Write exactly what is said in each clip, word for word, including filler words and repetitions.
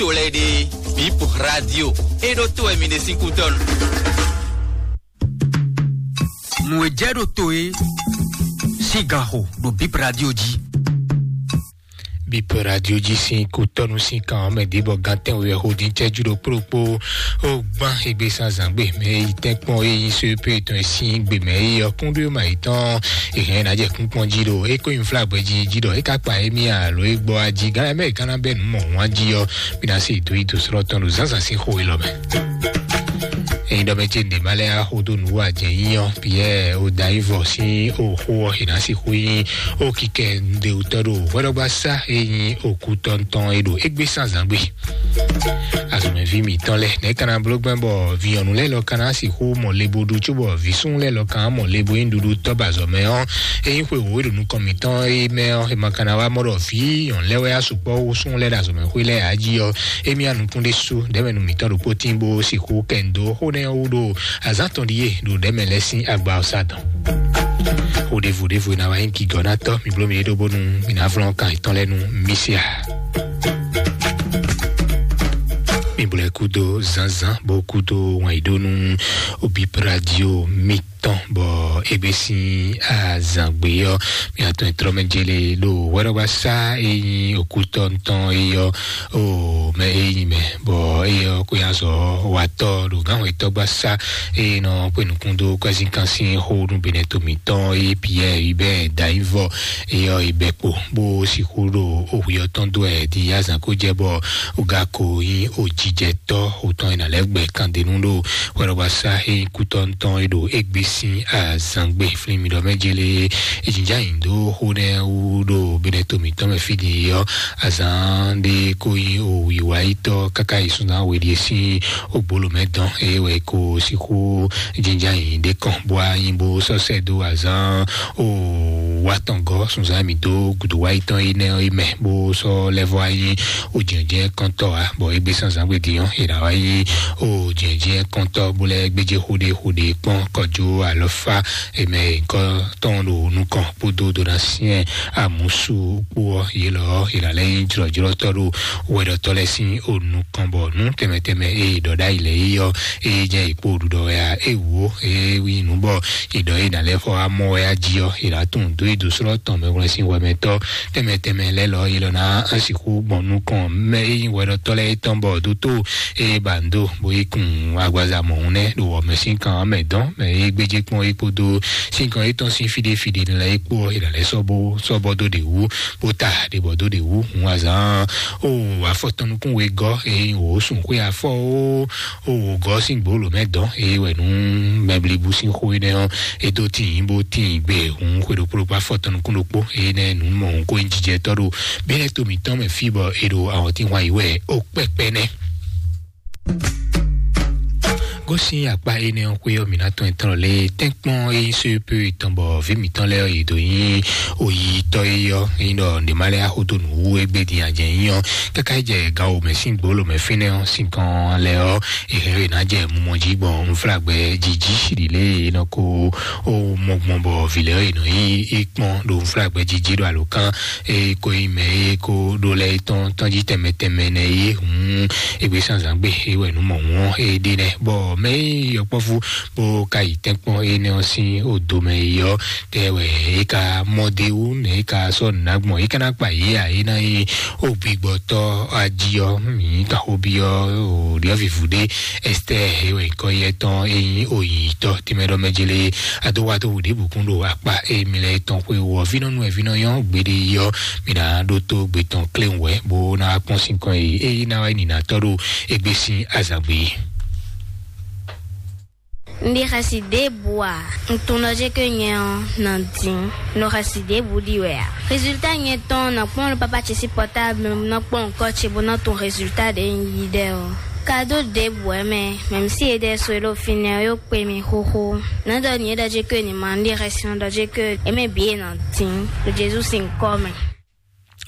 to lɛ́ɛ ɖe, Bip Radio, é ɖó to wɛ mi ɖe sín kútɔ́nu. Nǔ e jɛ ɖo to e sín gan xo ɖo Bip Radio jí. Bip Radio jí sín kútɔ́nu sín kan ɔ́ mɛ ɖěbɔ gantɛn wɛ xo dín cɛ́jú ɖo kplókpó. Ó gbán égbé sán zǎngbé mɛ yi tɛ́nkpɔ́n é yí só pé tɔn e sín gbé mɛ yi ɔ́ kúnɖó ma yi tɔn. Èhɛn ná jɛ kúnkpɔ́n jí ɖo é kó nyi flágbɛ jí jí ɖɔ é ka kpa émí alo é gbɔ ají gán mɛ gán ná bɛ nǔ mɔ wán jí ɔ́. Bí ná sì dó yi dó sɔ́ tɔn ɖo zǎnzǎn sín xó élɔ́ mɛ. Eyin ɖɔ mɛ ce ɖě ma lɛ́ axó dó nǔ wá jɛ nyí ɔ́, Piyɛ́ɛ ó da nyí vɔ sín ó xó ɔ́, è nǎ sixú nyí ó kikɛ ɖewutɔ́ ɖo hwɛɖɔgbá sá e nyí òkú tɔntɔn e ɖo égbé sán zǎngbé. Azɔ̌mɛví mǐtɔn lɛ́ɛ, nɛ̌ ka ná bló gbɛn bɔ vǐ nyɔ̌nu lɛ́ɛ lɔ ka ná sixú mɔ le bó ɖu cóbɔ vǐ súnnu lɛ́ɛ lɔ ka ná mɔ le bó nyí ɖuɖu tɔ́ ba azɔ̌mɛ ɔ́, é nyí xwe wǒ e ɖo nukɔn mǐtɔn é mɛ ɔ́, è ma ka ná wá mɔ ɖɔ vǐ nyɔ̌nu lɛ́ɛ wɛ asukpɔ́ hú súnnu lɛ́ɛ ɖo azɔ̌mɛxwé lɛ́ɛ ǎ jí ɔ́, émí anukún ɖésú ɖɛ̌mɛnu mǐtɔn ɖokpó tín bó sixú kɛ nǔ dó xó nɛ́ ɔ́ wú ɖo azǎn tɔn ɖíe ɖo ɖɛ̌mɛ lɛ́ɛ sín agba ɔ́ sá dɔn. Xó ɖěvo ɖěvo e ná wá nyí gǐgɔ́nátɔ́, mi bló mi ɖó bónú mi ná flɔ́n kan yětɔn lɛ́ɛ nú mì se a? Mi bló ɛ kúdó zǎnzǎn bó kúdó wǎn yí ɖó nú Bip Radio mi tɔn bɔ égbé sín azǎngbe ɔ́, mi atɔn e tlɔ́ mɛ jele ɖo hwɛɖɔgbá sá e nyí òkútɔ́ tɔn é ɔ́, o mɛ e nyí mɛ bɔ é ɔ́ kó nyi azɔ̌ watɔ́ ɖo gǎnhwɛtɔ́gbá sá e nɔ kpé nukún dó kwɛ́zínkan sín xó nú benɛto mǐtɔn é Piyɛ́ɛ Hubɛ́ɛ Dayivɔ é ɔ́ yi bɛ kpo bó sixú ɖo ohwi ɔ́ tɔn dó wɛ din azǎn kó jɛ bɔ gako nyí ojijɛtɔ́ òtɔn e nǎ lɛ́ gbɛ kandenu ɖo hwɛɖɔgbá sá e nyí kútɔ́ tɔn e ɖo égbé sín azǎngbe flín mi ɖɔ mɛ jele é. È jǐnjá nyi dó xó nɛ́ wú ɖo benɛto mǐtɔn mɛ fí din ɔ́, azǎn ɖé kó nyí òwǐwáyítɔ́ káká yi sunzán we ɖíe sín ògbóló mɛ dɔn eye wɛ è ko sixú jínján nyi ɖé kɔn bó wá nyi bó sɔ́ sɛ́ dó azǎn o wá tɔn gɔ́ sunzán mǐ dó gǔdo wáyítɔ́ énɛ́ ɔ́ yi mɛ bó sɔ́ lɛ́ vɔ wá nyí o jɛ̌njɛ́n kɔntɔ́ ǎ, bɔ égbé sán zǎngbedin ɔ́ è nǎ wá nyí o jɛ̌njɛ́n kɔntɔ́ bó lɛ́ gbéjé xó ɖé xó ɖé kpɔ́n kɔjó alɔfá e mɛ nyǐkɔ tɔn ɖo nukɔn kpódó dó ná syɛ́n amǔsú kpó ɔ́, yě lɔ ɔ́, è nǎ lɛ́ nyí jlɔ̌jlɔ́tɔ́ ɖo hwɛɖɔtɔ́ lɛ́ɛ sín o nukɔn, bɔ nǔ tɛnmɛ tɛnmɛ e è ɖɔ ɖ'ayǐ lɛ́ɛ é ɔ́, é jɛ è kpó ɖuɖɔ wɛ ǎ. É wǒ, é nyí nǔ bɔ è ɖɔ é nǎ lɛ́ xɔ amɔ wɛ á jí ɔ́, è nǎ tunwun dó yi dó slɔ́ tɔn mɛhwlɛ́n sín hwɛmɛtɔ́ tɛnmɛ tɛnmɛ lɛ́ɛ lɔ, yě lɔ ná sixú gbɔn nukɔn mɛ e nyí hwɛɖɔtɔ́ lɛ́ɛ tɔn bɔ dótó e ba ndo bó yi kun agbaza mɔ̌hun nɛ́ ɖo wɔ̌mɛ sín kan ɔ́ mɛ dɔn, mɛ e gbéjé kpɔ́n é kpódó sín kan étɔn sín fíɖé fíɖé lɛ́ɛ é kpó ɔ́, è nǎ lɛ́ sɔ́ bó sɔ́ bɔ dó ɖě wú, bó ta ɖě bɔ dó ɖě wú hun azǎn o afɔ tɔn nukún wegɔ́ e nyí wǒ sun xwé afɔ o o wǒgɔ́ sín gbǒlǒ mɛ dɔn e wɛ nú mɛblíbú sín xó énɛ́ ɔ́, é dó tíin bó tíin gbe hun xwe ɖokpó ɖokpó afɔ tɔn nukún ɖokpó énɛ́ nǔ mɔ hun kó nyí jijɛtɔ́ ɖo bínɛ́ to mǐtɔn mɛ fí bɔ è ɖo awɔ̌tínhwan yí wɛ ó kpɛkpɛ nɛ́. Gosín akpá énɛ́ ɔ́ xwé ɔ́, mǐ ná tɔn etɔ́n lé tɛ́nkpɔ́n e nyí só pé tɔn bɔ vǐ mǐtɔn lɛ́ɛ ɔ́, yě dǒ nyí oyítɔ́ é ɔ́, é nyí ɖɔ nǔɖé má lɛ́ axó dó nǔ wú égbé din a jɛ nyí ɔ́, káká yi jɛ gan wǒmɛ sín gbǒlǒ mɛ fínɛ́ ɔ́, sín kan lɛ́ɛ ɔ́, è hɛn ɔ́ è nǎ jɛ mumɔ jí gbɔn unflágbɛ jí jí ɖi lě e è nɔ ko ó mɔ gbɔn bɔ vǐ lɛ́ɛ ɔ́ è nɔ nyí é kpɔ́n ɖo unflágbɛ jí jí ɖo alǒkan e ko nyí mɛ e ko ɖó lɛ́ɛ tɔn tɔn jí tɛnmɛ tɛnmɛ nɛ é hǔn égbé sánzǎn gbe é wɛ nǔ mɔ hǔn ɔ́ é ɖe nɛ́ bɔ mɛ e nyí yɔkpɔ́vú bó ka yi tɛ́nkpɔ́n énɛ́ ɔ́ sín odomɛ yi ɔ́, tɛ wɛ é ka mɔ d'é wú nɛ é ka sɔ́ nǔ ná gbɔn é ka ná kpa yě ǎ é ná nyí ó gbigbɔtɔ́ ají ɔ́, mǐ ka xó byɔ́ o ɖyɔ̌vǐvú ɖé Ɛstɛ́ɛ é wɛ nyǐkɔ yɛ tɔn é nyí oyǐnyítɔ́ tɛnmɛ ɖɔ mɛ jele adó wá dó wǔ ɖěbǔ kún ɖo akpá émi lɛ́ɛ tɔn xwé wú ɔ́, vínɔ́ nú wɛ vínɔ́ nyɔ́ gbeɖé yi ɔ́, mǐ ná ɖótó gbe tɔn kléwún wɛ bó ná wá kpɔ́n sín kɔn e é ná wá yi nǐnatɔ́ ɖo égbé sín azǎn gbe. Un ɖi xɛsi ɖěbǔ ǎ. Un tunwun ɖɔ jɛ́n ké nyɛ ɔ́ nɔ dín. Un ɖo xɛsi ɖěbǔ ɖi wɛ ǎ. Résultat nyɛ tɔn nɔ kpɔ́n ɖo pápá ce sín portable nɔ kpɔ́n ŋkɔ́ ce bó nɔ tunwun résultat ɖě un yí ɖɛ ɔ́. Kado ɖěbǔ wɛ mɛ, mɛ̌mísí e ɖɛ so e ɖo fínɛ́ ɔ́ yó kpe mì xóxó. Nǎ ɖɔ nǐ e ɖɔ jɛ́n ké ní ma un ɖi xɛsi nɔ ɖɔ jɛ́n ké é mɛ bǐ e nɔ dín ɖo Jezu sín kɔ́ mɛ.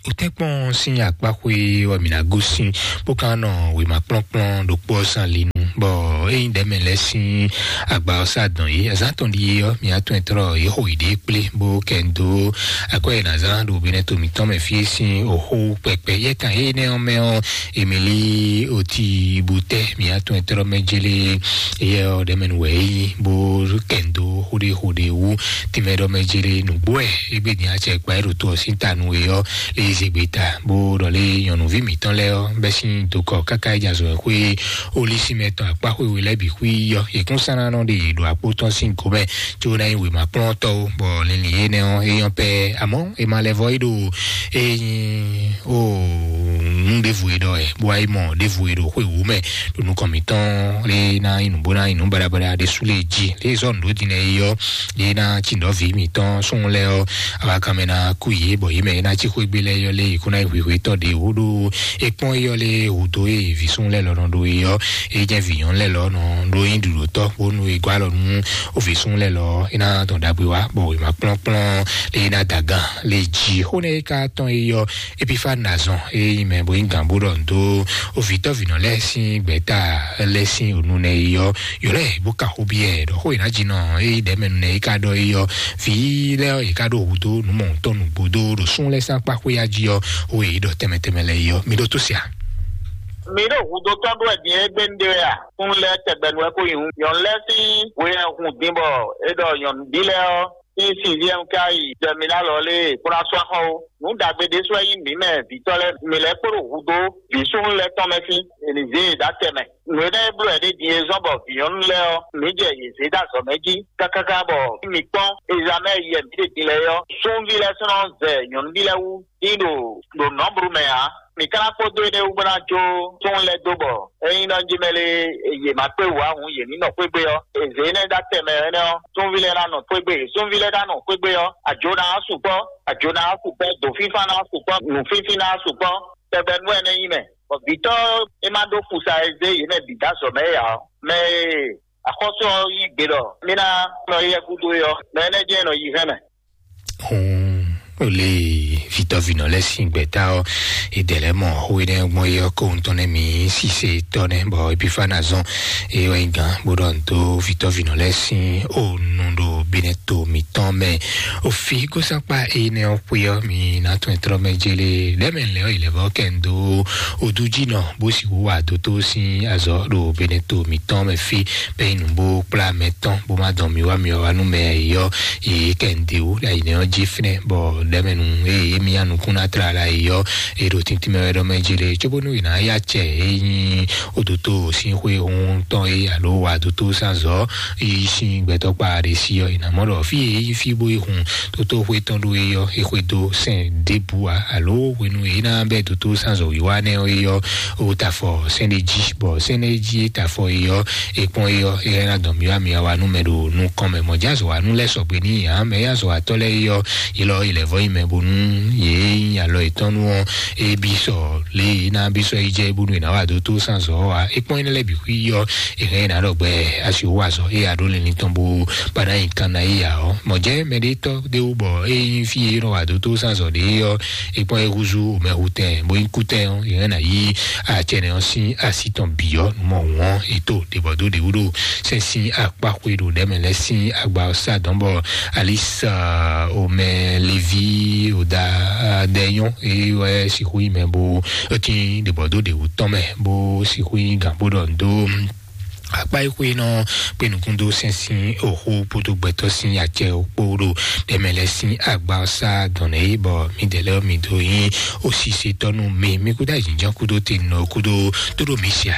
Wotɛ́nkpɔ́n sín akpáxwé wɛ mǐ ná gosín, bó ka nɔ wěma kplɔ́nkplɔ́n ɖokpó ɔ́ sín ali nu. Bɔ ényí ɖɛ̌mɛ lɛ́ɛ sín agba ɔ́ sá dɔn yě, azǎn tɔn ɖíe ɔ́, mi atún ɛtrɔ yě xo yě ɖée kplé bó kɛ ń dó akwɛ́ e nǎ zán ɖo Benɛto mǐtɔn mɛ fí e sín òxó kpɛkpɛ yɛ́kan énɛ́ ɔ́ mɛ ɔ́, Emili Oti Butɛ, mi atún ɛtrɔ mɛ jélé, éyɛ́ ɔ́ ɖɛ̌mɛ nu wɛ é nyí bó kɛ ń dó xóɖéxóɖé wú. Tínmɛ ɖɔ mɛ jélé nǔgbó wɛ égbé din acɛ kpa é ɖo to ɔ́ sín ta nú é ɔ́, lé zé gbeta bó ɖɔ lé nyɔ̌nuví mǐtɔn lɛ́ɛ ɔ́ bɛ́ sín dokɔ káká é jɛ azɔ̌ xwé Olísímɛ tɔn akpá xwé we lɛ́ɛ bǐ xwí ɔ́, yě kún sán ná nɔ ɖe yě ɖo akpó tɔn sín gomɛ, có ná nyí wěma kplɔ́ntɔ́ ó, bɔ linlin énɛ́ ɔ́ é nyɔ́ pɛ́. Amɔ́ è ma lɛ vɔ é ɖo é nyí o nǔ ɖěvo e ɖɔ wɛ, bó wá yi mɔ ɖěvo e ɖo xwé wǔ mɛ ɖo nukɔn mǐtɔn lé ná nyí nǔ bó ná nyí nǔ baɖabaɖa ɖé sú lé jí lé zɔ nǔ ɖó din lɛ é ɔ́, lé ná tsi nǔ ɖɔ vǐ mǐtɔn súnnu lɛ́ɛ ɔ́, awa kan mɛ ná kú yě bɔ yě mɛ é ná cí xwé gbé lɛ́ɛ é ɔ́ lé yě kún ná nyí hwǐhwí tɔn ɖě wú ɖó é kpɔ́n é ɔ́ lé hǔ dó é vǐ súnnu lɛ́ɛ lɔ nɔ ɖó é ɔ́, é jẹ́ vǐ nyɔ̌nu lɛ́ɛ lɔ nɔ ɖó nyí ɖuɖǒtɔ́ bónú é gɔ́ alɔ nú ó vǐ súnnu lɛ́ɛ lɔ é ná dɔn ɖagbe wá bɔ wěma kplɔ́nkplɔ́n lé é ná da gan lé jí xó nɛ́ é ka tɔn é ɔ́, Epifani azɔn e nyí mɛ bo nyí gǎn bó ɖɔ nǔ dó ovǐtɔ́vǐnɔ lɛ́ɛ sín gbɛ̌ta lɛ́ɛ sín ònu nɛ yi ɔ́, ylɔ́ ɛ bó ka xó byɔ́ ɛ ɖɔ xó e ná jí nɔ e nyí ɖɛ̌mɛnu nɛ é ka ɖɔ é ɔ́, vǐ lɛ́ɛ ɔ́, yě ka ɖo hudó nǔ mɔ̌huntɔn nǔgbó dó ɖo sún lɛ́ɛ sín akpá xwé ya jí ɔ́, xó e yě ɖɔ tɛnmɛ tɛnmɛ lɛ́ɛ yi ɔ́, mi ɖó tó se a? Mi ɖo hudó tɔn ɖó wɛ din égbé nu ɖé wɛ a? Kún lɛ́ɛ tɛgbɛ nu wɛ kó nyǐ hǔn. Nyɔ̌nu lɛ́ɛ sín hwe ɛ hun din bɔ é ɖɔ nyɔ̌nuví lɛ́ɛ ɔ́, sín sixième ka yi jɛ mi ná lɔ lé kplɔ́n asú axɔ ó. Nǔ ɖagbe ɖésú wɛ nyí mǐ mɛ vǐtɔ́ lɛ́ɛ, mǐ lɛ́ kpo ɖo hudó vǐ súnnu lɛ́ɛ tɔn mɛ sín, è nǐ zé yě ɖó atɛ mɛ. Nǔ énɛ́ e bló wɛ ɖé din e zɔ́n bɔ vǐnyɔ́nú lɛ́ɛ ɔ́, mǐ jɛ yě zé ɖó azɔ̌ mɛ jí kákáká bɔ mǐ kpɔ́n ezamɛ yɛ mǐ ɖe din lɛ́ɛ ɔ́, súnví lɛ́ɛ sɔ́ nɔ zɛ nyɔ̌nuví lɛ́ɛ wú dín ɖo ɖo nɔ̌blu mɛ ǎ. Mǐ ka ná kpódó énɛ́ wú bó ná jó súnnu lɛ́ɛ dó bɔ ényí nɔ jí mɛ lé yě ma kpé wǔ ǎ hǔn yě ní nɔ xwé gbé ɔ́, è zě énɛ́ ɖó atɛ mɛ énɛ́ ɔ́, súnví lɛ́ɛ ná nɔ xwé gbé, súnví lɛ́ɛ ná nɔ xwé gbé ɔ́, àjǒ ná sukpɔ́, àjǒ ná sukpɔ́, dǒfínfán ná sukpɔ́, nǔfínfín ná sukpɔ́, tɛgbɛ nú ɛnɛ́ nyí mɛ. Bɔ vǐtɔ́ é má ɖó fusa e zé yě mɛ bǐ dó azɔ̌ mɛ é ǎ ɔ́, mɛ e axɔ́sú ɔ́ yí gbe ɖɔ mí ná nɔ yɛ gúdo é ɔ́, mɛ énɛ́ jɛ́n nɔ yi hɛn mɛ. Hun, ó lé vitɔ́vinɔ lɛ́ɛ sín gbɛ̌ta ɔ́, è dɛ̌ lɛ́ mɔ xó énɛ́ gbɔn é ɔ́ kó ŋutɔn nɛ́ mǐ sise tɔ́ nɛ́, bɔ Epifana zɔn é wɛ nyí gǎn bó ɖɔ nǔ dó vitɔ́vinɔ lɛ́ɛ sín ó nu ɖo Benɛto mǐtɔn mɛ. Ofi gósánkpá énɛ́ ɔ́ xwé ɔ́, mi ná tún ɛ tlɔ́ mɛ jélé lɛ́ mɛ lɛ́ ɔ́ yi lɛ́ vɔ́ kɛ ń dó odújínɔ bó sixú wa dótó sín azɔ̌ ɖo Benɛto mǐtɔn mɛ fí, bɛ́ nyí nǔ bó kplá mɛ tɔn bó má dɔn mi wá mi wá nú mɛ yɔ yě kɛ ń de wú ɖo ayǐnɛ ɔ́ jí fínɛ́, bɔ ɖɛ̌mɛnu eye émí ya nukún ná tlala yi ɔ́, é ɖo tíntín mɛ wɛ ɖɔ mɛ jí lé, cóbónú è nǎ yá acɛ e nyí odoto sín xwé hun tɔn é alo wa doto sánzɔ́ yi sín gbɛtɔ́ kpa ɖé sí ɔ́, è nǎ mɔ ɖɔ fí e é nyí fí bó yi hun toto xwé tɔn ɖó é ɔ́, é xwedó sɛn ɖěbǔ ǎ, alo hwenu e é ná bɛ́ doto sánzɔ́ wíwá nɛ́ ɔ́ é ɔ́, ó ta afɔ sɛ́n ɖé jí, bɔ sɛ́n ɖé jí é ta afɔ é ɔ́, é kpɔ́n é ɔ́, é ná dɔn mǐwá mǐwá wa nú mɛ ɖo nukɔn mɛ. Mɔ̌ jazɔ wa nú lɛ́ sɔgbe n'i ǎ, mɛ e azɔ̌watɔ́ lɛ́ɛ é ɔ́, yě lɔ yě lɛ́ vɔ nyí mɛ bónú yě nyí alɔ yětɔn nú ɔ́, é bí sɔ lě e é ná bí sɔ́ yi jɛ bónú è nǎ wa dó tó sánzɔ́ ɔ́ ǎ. É kpɔ́n énɛ́ lɛ́ɛ bǐ xwí ɔ́, è hɛn é nǎ ɖɔ gbɛ asi wú azɔ̌ é a ɖó linlin tɔn bó ba ná nyi kan ná yí ǎ ɔ́. Mɔ̌ jɛ́n mɛɖétɔ́ ɖé wú bɔ é nyí fí e é nɔ wa dó tó sánzɔ́ ɖě ɔ́, é kpɔ́n é húzú mɛhutɛn bó nyí kútɛn ɔ́, è hɛn ná yí acɛnɛ ɔ́ sín así tɔn bǐ ɔ́, nǔ mɔ hǔn ɔ́, è tó ɖěbɔ̌dó ɖě wú ɖo sɛ́n sín akpá xwe ɖo ɖɛ̌ mɛ lɛ́ɛ sín agba ɔ́ sá dɔ̌n bɔ Alisa omɛ Levi oda dɛ nyɔ́ é wɛ sixú nyí mɛ bó tín ɖěbɔ̌dó ɖě wú tɔn mɛ bó sixú nyí gǎn bó ɖɔ nǔ dó akpá e xwe nɔ kpé nukún dó sɛ́n sín oxó kpódó gbɛtɔ́ sín acɛ kpó ɖo ɖɛ̌ mɛ lɛ́ɛ sín agba ɔ́ sá dɔ̌n nɛ é bɔ mǐdɛɛ lɛ́ɛ mi dó nyí osísetɔ́ nú mi. Mi kúdó ayǐjínjɔ́n kúdó tenɔ kúdó tóɖó mi sia.